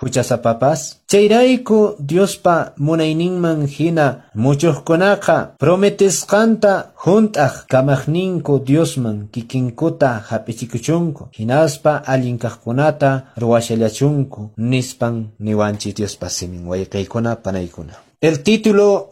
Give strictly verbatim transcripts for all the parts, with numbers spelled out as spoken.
Huchasapapas? Chayrayku Diospa munayninman hina muchuqkunaqa prometesqanta hunt'aq kamaqninku Diosman kikinkuta hap'ichikuchunku hinaspa allin kaqkunata ruwashallachunku nispan niwanchis Diospa simin wayqiykuna panaykuna. El título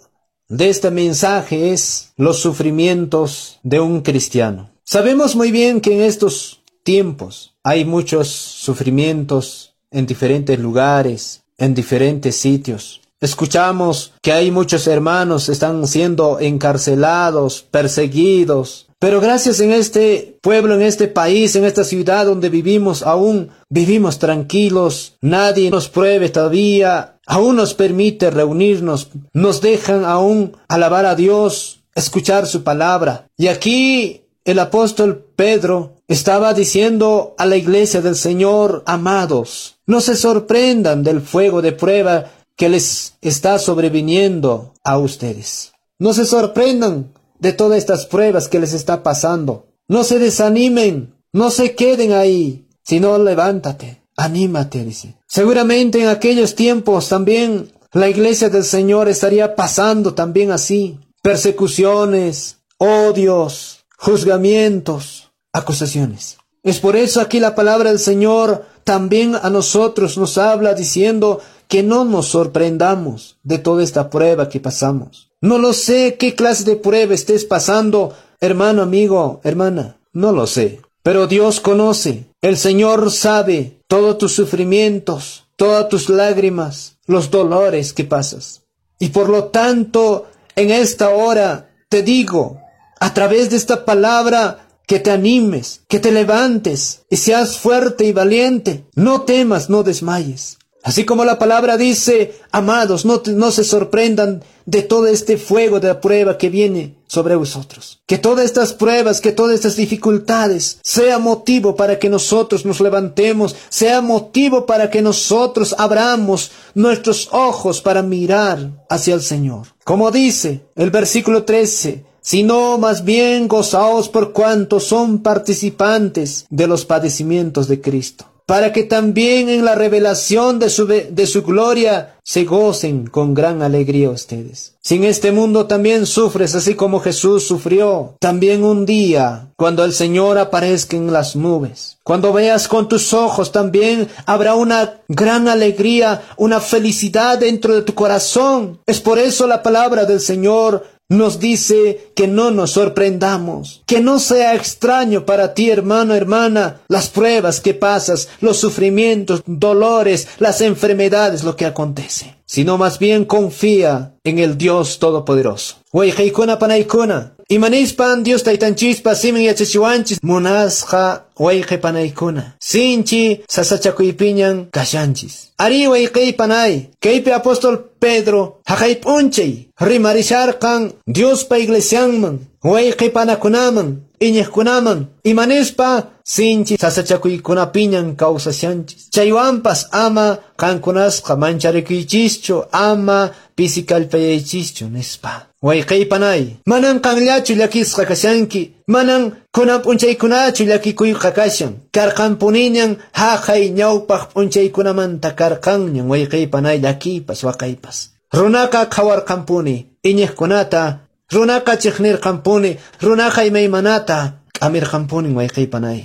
de este mensaje es Los sufrimientos de un cristiano. Sabemos muy bien que en estos tiempos hay muchos sufrimientos en diferentes lugares, en diferentes sitios. Escuchamos que hay muchos hermanos están siendo encarcelados, perseguidos. Pero gracias en este pueblo, en este país, en esta ciudad donde vivimos, aún vivimos tranquilos. Nadie nos pruebe todavía. Aún nos permite reunirnos. Nos dejan aún alabar a Dios, escuchar su palabra. Y aquí el apóstol Pedro estaba diciendo a la iglesia del Señor, amados, no se sorprendan del fuego de prueba que les está sobreviniendo a ustedes. No se sorprendan de todas estas pruebas que les está pasando. No se desanimen, no se queden ahí, sino levántate, anímate, dice. Seguramente en aquellos tiempos también la iglesia del Señor estaría pasando también así. Persecuciones, odios, juzgamientos, acusaciones. Es por eso aquí la palabra del Señor también a nosotros nos habla diciendo que no nos sorprendamos de toda esta prueba que pasamos. No lo sé qué clase de prueba estés pasando, hermano, amigo, hermana. No lo sé. Pero Dios conoce. El Señor sabe todos tus sufrimientos, todas tus lágrimas, los dolores que pasas. Y por lo tanto, en esta hora te digo, a través de esta palabra, que te animes, que te levantes y seas fuerte y valiente. No temas, no desmayes. Así como la palabra dice, amados, no, no se sorprendan de todo este fuego de la prueba que viene sobre vosotros. Que todas estas pruebas, que todas estas dificultades sea motivo para que nosotros nos levantemos, sea motivo para que nosotros abramos nuestros ojos para mirar hacia el Señor. Como dice el versículo trece, sino más bien gozaos por cuanto son participantes de los padecimientos de Cristo, para que también en la revelación de su, de su gloria se gocen con gran alegría ustedes. Si en este mundo también sufres así como Jesús sufrió, también un día, cuando el Señor aparezca en las nubes, cuando veas con tus ojos también habrá una gran alegría, una felicidad dentro de tu corazón. Es por eso la palabra del Señor nos dice que no nos sorprendamos, que no sea extraño para ti, hermano, hermana, las pruebas que pasas, los sufrimientos, dolores, las enfermedades, lo que acontece, sino más bien confía en el Dios Todopoderoso. Wayqiykuna panaykuna, imanispan Dios taytanchispa simin yachachiwanchis munasqa wayqi panaykuna, sinchi sasachakuypiñan kashanchis. Ari wayqiy panay, kaypi apóstol Pedro haqay p'unchay rimarisharqan Diospa iglesianman, wayqi panakunaman, iñiqkunaman, imanispa sinchi sasachakuykunapiñan kawsashanchis. Chaywanpas ama qankunasqa mancharikuychischu, ama pisikallpayaychischu nispa. Wayqiy panay, manan qanllachu llakisqa kashanki, manan kunan p'unchaykunachu llakikuyqa kashan. Karqanpuniñan haqay ñawpaq p'unchaykunamanta karqanñan wayqiy panay llakiypas waqaypas. Runaqa qhawarqanpuni iñiqkunata, runaqa chiqnirqanpuni, runaqa imaymanata k'amirqanpuni wayqiy panay.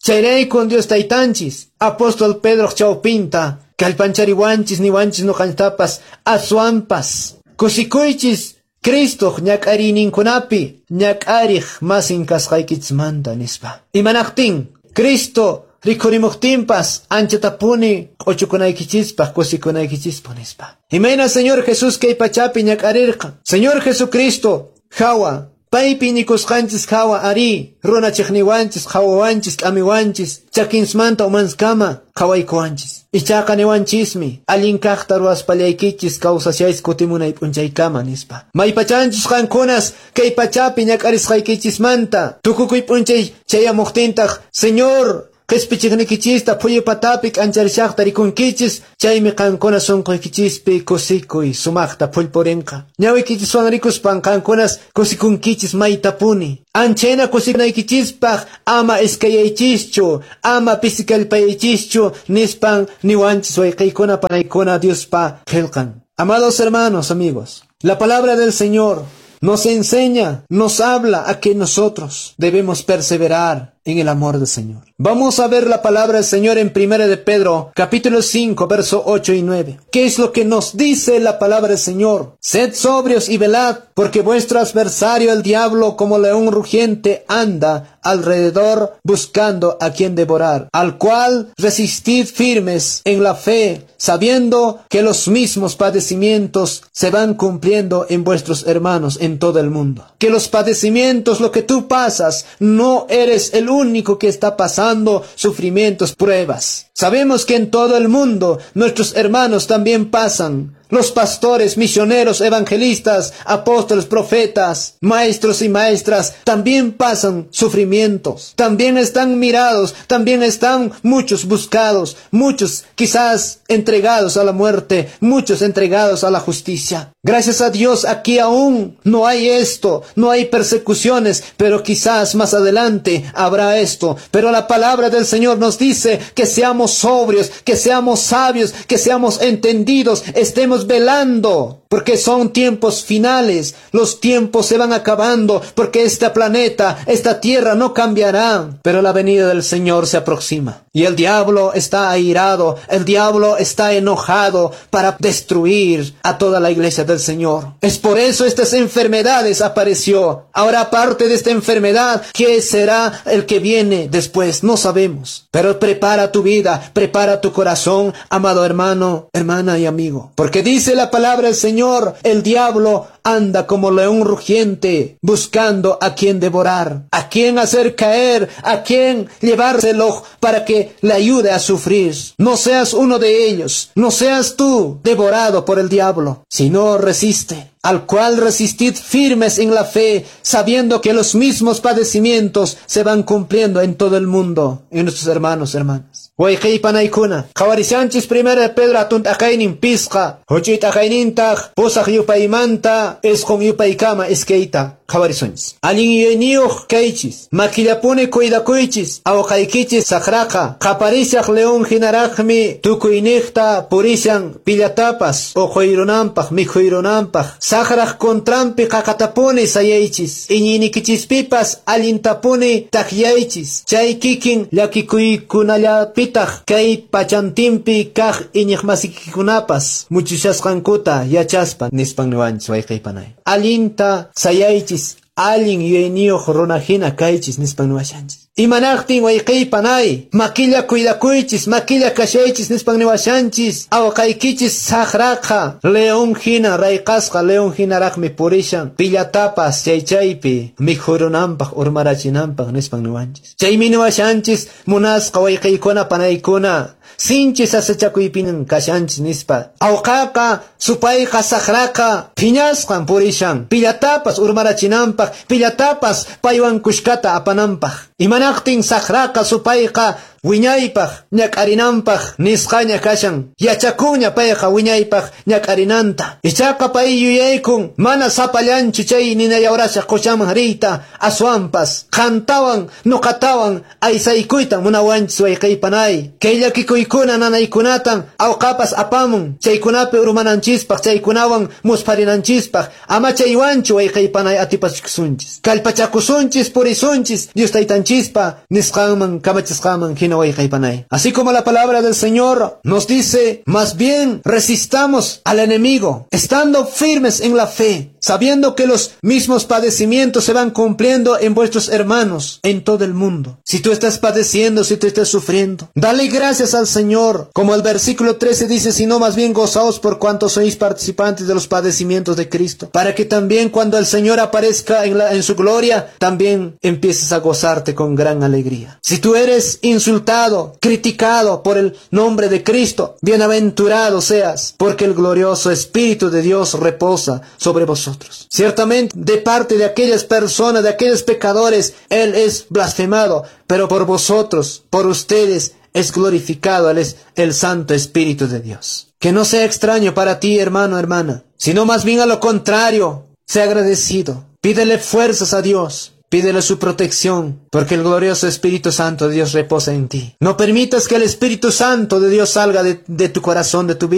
Chayraykun Dios taytanchis, apóstol Pedro chawpinta, kallpanchariwanchis niwanchis nuqantapas aswanpas. Kusikuychis Cristo ñak'ariyninkunapi ñak'ariq masin kasqaykichismanta nispa. Imanaqtin Cristo rikhurimuqtinpas anchatapuni q'uchukunaykichispaq kusikunaykichispaq nispa. Imayna Señor Jesús kay pachapi ñak'arirqa. Señor Jesucristo hawa paypi nikusqanchis hawa ari runa chiqniwanchis qhawawanchis k'amiwanchis chakinsmanta umanskama qhawaykuwanchis. Ichaqa niwanchismi allin kaqta ruwaspallaykichis kawsashayis kutimunay p'unchaykama nispa. Maypachanchis qankunas kay pachapi ñak'arisqaykichismanta tukukuy p'unchay chayamuqtintaq Señor Qhispichiqniykichista phuyu patapi k'ancharishaqta rikunkichis, chaymi qankuna sunquykichispi kusikuy sumaqta phullpurinqa. Ñawiykichiswan rikuspan qankunas kusikunkichis maytapuni. Anchayna kusikunaykichispaq ama iskayaychischu, ama pisikallpayaychischu nispan niwanchis wayqiykuna panaykuna Diospa qillqan. Amados hermanos, amigos, la palabra del Señor nos enseña, nos habla a que nosotros debemos perseverar en el amor del Señor. Vamos a ver la palabra del Señor en Primera de Pedro, capítulo cinco, verso ocho y nueve. ¿Qué es lo que nos dice la palabra del Señor? Sed sobrios y velad, porque vuestro adversario el diablo, como león rugiente, anda alrededor buscando a quien devorar, al cual resistid firmes en la fe, sabiendo que los mismos padecimientos se van cumpliendo en vuestros hermanos en todo el mundo. Que los padecimientos, lo que tú pasas, no eres el único que está pasando sufrimientos, pruebas. Sabemos que en todo el mundo nuestros hermanos también pasan. Los pastores, misioneros, evangelistas, apóstoles, profetas, maestros y maestras también pasan sufrimientos. También están mirados, también están muchos buscados, muchos quizás entregados a la muerte, muchos entregados a la justicia. Gracias a Dios aquí aún no hay esto, no hay persecuciones, pero quizás más adelante habrá esto. Pero la palabra del Señor nos dice que seamos sobrios, que seamos sabios, que seamos entendidos, estemos velando, porque son tiempos finales, los tiempos se van acabando, porque este planeta, esta tierra no cambiará, pero la venida del Señor se aproxima. Y el diablo está airado, el diablo está enojado para destruir a toda la iglesia del Señor. Es por eso estas enfermedades apareció. Ahora, aparte de esta enfermedad, ¿qué será el que viene después? No sabemos. Pero prepara tu vida, prepara tu corazón, amado hermano, hermana y amigo. Porque dice la palabra del Señor, el diablo anda como león rugiente, buscando a quien devorar, a quien hacer caer, a quien llevárselo para que le ayude a sufrir. No seas uno de ellos, no seas tú devorado por el diablo, sino resiste, al cual resistid firmes en la fe, sabiendo que los mismos padecimientos se van cumpliendo en todo el mundo, en nuestros hermanos, hermanas. Wayqi panaykuna, qhawarishanchis Primera de Pedro atunt'aqaynin pisqa, huch'uyt'aqaynintaq pusaq yupaymanta isqun yupaykama iskayta qhawarisunchis. Allin yuyayniyuq kaychis, makillapuni cuidakuychis, awqaykichis saqraqa, qaparishaq león hinaraqmi tukuyniqta purishan pillatapas, uquyrunanpaq, mikhuyrunanpaq, saqraq contranpi qaqatapuni sayaychis, iñiynikichispipas allintapuni takyaychis, chay kikin llakikuykunallapi kay pachantinpi kaq iñiqmasikikunapas muchushasqankuta yachaspa nispan niwanchis wayqiypanay. Allinta sayaychis, allin yuyayniyuq runa hina kaychis nispan niwashanchis. Imanaqtin wayqiypanay, makilla cuidakuychis, makilla kashaychis nispan niwashanchis, awqaykichis saqraqa león hina rayqasqa león hinaraqmi purishan, pillatapas chay chaypi mikhurunanpaq urmarachinanpaq nispan niwanchis. Chaymi niwashanchis munasqa wayqiykuna panaykuna, sinchi sasachakuypinan kashanchis nispa. Awqaqa supayqa saqraqa phiñasqan purishan, pillatapas urmarachinanpaq, pillatapas paywan kushkata apananpaq. Imanaqtin saqraqa supayqa wiñaypaq ñak'arinanpaq nisqaña kashan, yachakuña payqa wiñaypaq ñak'arinanta. Ichaqa pay yuyaykun mana sapallanchu chay ninayawrashaq quchaman riyta, aswanpas qantawan nuqatawan aysaykuyta munawanchis wayqiypanay. Kay llakikuykuna nanaykunatan awqapas apamun chaykunapi urmananchispaq, chaykunawan muspharinanchispaq. Ama chaywanchu wayqiypanay atipachikusunchis, kallpachakusunchis, purisunchis Dios taytanchispa nisqanman kamachisqanman hina. Así como la palabra del Señor nos dice, más bien resistamos al enemigo, estando firmes en la fe, sabiendo que los mismos padecimientos se van cumpliendo en vuestros hermanos en todo el mundo. Si tú estás padeciendo, si tú estás sufriendo, dale gracias al Señor. Como el versículo trece dice, sino más bien gozaos por cuanto sois participantes de los padecimientos de Cristo, para que también cuando el Señor aparezca en, la, en su gloria, también empieces a gozarte con gran alegría. Si tú eres insultado, criticado por el nombre de Cristo, bienaventurado seas, porque el glorioso Espíritu de Dios reposa sobre vosotros. nosotros. Ciertamente, de parte de aquellas personas, de aquellos pecadores, Él es blasfemado, pero por vosotros, por ustedes, es glorificado, Él es el Santo Espíritu de Dios. Que no sea extraño para ti, hermano, hermana, sino más bien a lo contrario, sea agradecido. Pídele fuerzas a Dios. Pídele su protección, porque el glorioso Espíritu Santo de Dios reposa en ti. No permitas que el Espíritu Santo de Dios salga de, de tu corazón, de tu vida.